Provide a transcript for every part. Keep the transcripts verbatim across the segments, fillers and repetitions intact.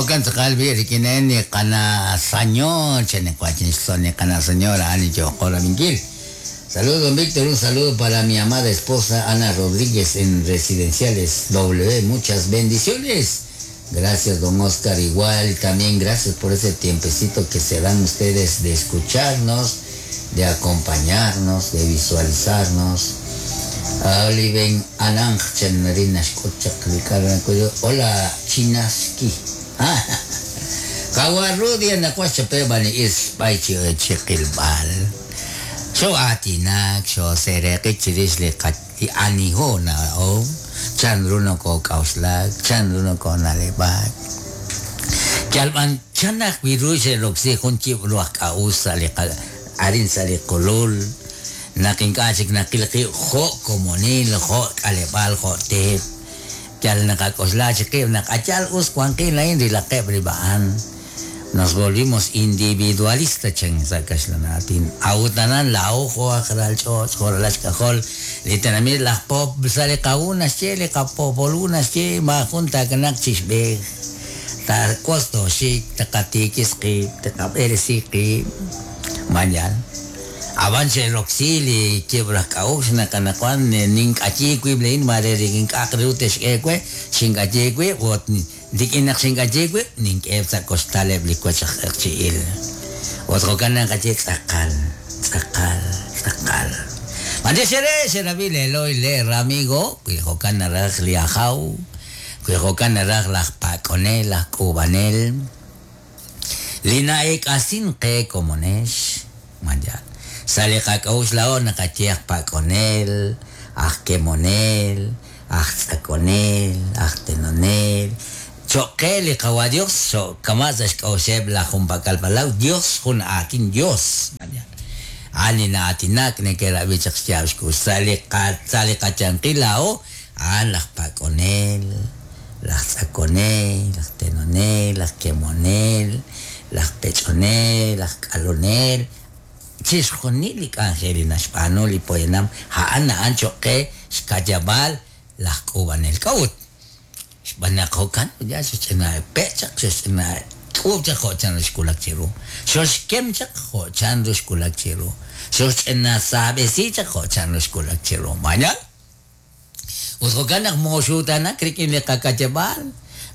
Jokan tz'aqal bi rik'in ni qana señor cheniqwachin ni qana señora ani yoqorabinkil. Saludos, don Víctor, un saludo para mi amada esposa Ana Rodríguez en Residenciales W. Muchas bendiciones. Gracias, don Oscar. Igual también gracias por ese tiempecito que se dan ustedes de escucharnos, de acompañarnos, de visualizarnos. Hola, Chinaski. Xo atinak, xo sereqi chirix li aniho na o chanru no ko kauslak, chanru no ko nalebak. Yalban chanak wiru xeroksi jun chib ruaj k'a'us sa' li arin sa' li qulul. Naqink'achik naqilqi jo' komonil, jo' k'aleb'al, jo' teep. Yal naqak'oxla chiqib naq'achal us wanqil lain rilaqeb rib'a'an. Nos volvimos individualistas chen sa kaxlanatin. Autanan la ojo ajral ch'och joralach k'ajol li tenamit laj pop sa' li qawunas che li qapopolunas che majun takanak chixb'ej ta kosto xik taqatikis qib taqab'eresi qib mañal. Aban xeroksi li kibraj k'a'ux naqanaqwan nink'achi wib' lein mare rikink'aq riw texk'e we xink'achi wib' ut rik'in naq xink'achi wib' nink'eb sa' kostaleb' li wech aj q'eqchi'il. Ut jo'kan naqachi tz'aqal tz'aqal tz'aqal. Mande xere xerabi leloy le ramigo wi jo'kan naraj li ajaw wi jo'kan naraj laj pak'onel laj k'uub'anel li na'ek'asin qe komonex manjal. Sa' li qak'a'ux la'o naqaye aj pak'onel, aj kemonel, aj tz'akonel, aj tenonel. Choqe li qawa Dios, so kama sa xk'a'uxeb' laj junpak'al palaw, Dios jun aatin Dios. Ani na'atinak neke'rab'i chaq xyaab' xkux. Sa' li qa sa' li qachanqil la'o, a'an laj pak'onel, laj tz'akonel, laj tenonel, laj kemonel, laj pech'onel, laj k'alonel. Chixjunil li k'anjel li naxb'aanu li poyanam a'an a'an choqe xkayab'al laj k'uub'anel k'a'ut. Xb'aan naq jo'kan ya xch'ina pechaq xch'ina k'uub' chaq jo' chanru xkulak chiru. Xoxkem chaq jo' chanru xkulak chiru. Xoxch'ina saab'esi chaq jo' chanru xkulak chiru. Mañal. Ut jo'kan naq moxutanak rik'in li qakayab'al.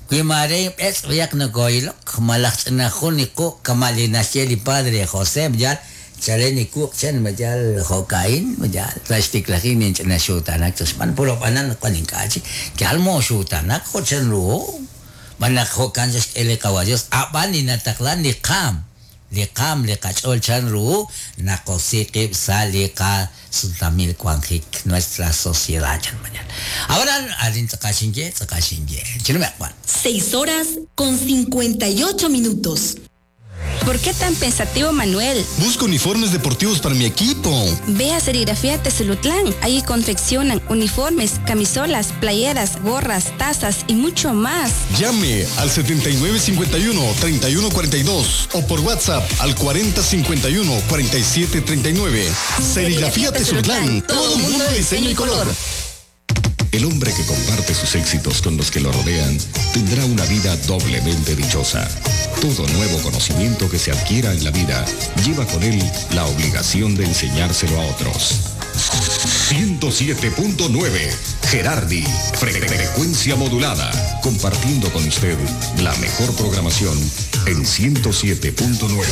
Wi mare b'etz' riaq nakoilok malaj ch'ina jun li quq' kama' li naxye li padre José yal chaleni kuq chen mayal jo'kain mayal sa' xtiklajin ninch'ina xutanak xb'aan puro b'anan qan ink'achi yal moxutanak jo' chanru b'an naq jo'kan xk'e li qawa Dios ab'an li nataqlan li qaam li qaam li qach'ool chanru naqosi qib' sa' li qasultamil wanjik nuestra sociedad chan mañal. Ahora arin tz'aqal xinye tz'aqal xinye chinumeq b'an. Seis horas con cincuenta y ocho minutos. ¿Por qué tan pensativo, Manuel? Busco uniformes deportivos para mi equipo. Ve a Serigrafía Tezulutlán. Ahí confeccionan uniformes, camisolas, playeras, gorras, tazas y mucho más. Llame al setenta y nueve cincuenta y uno, treinta y uno cuarenta y dos o por WhatsApp al cuarenta cincuenta y uno, cuarenta y siete treinta y nueve. Serigrafía Tezulutlán. Todo un mundo de diseño y color. El hombre que comparte sus éxitos con los que lo rodean tendrá una vida doblemente dichosa. Todo nuevo conocimiento que se adquiera en la vida lleva con él la obligación de enseñárselo a otros. ciento siete punto nueve Gerardi, frecuencia modulada, compartiendo con usted la mejor programación en ciento siete punto nueve.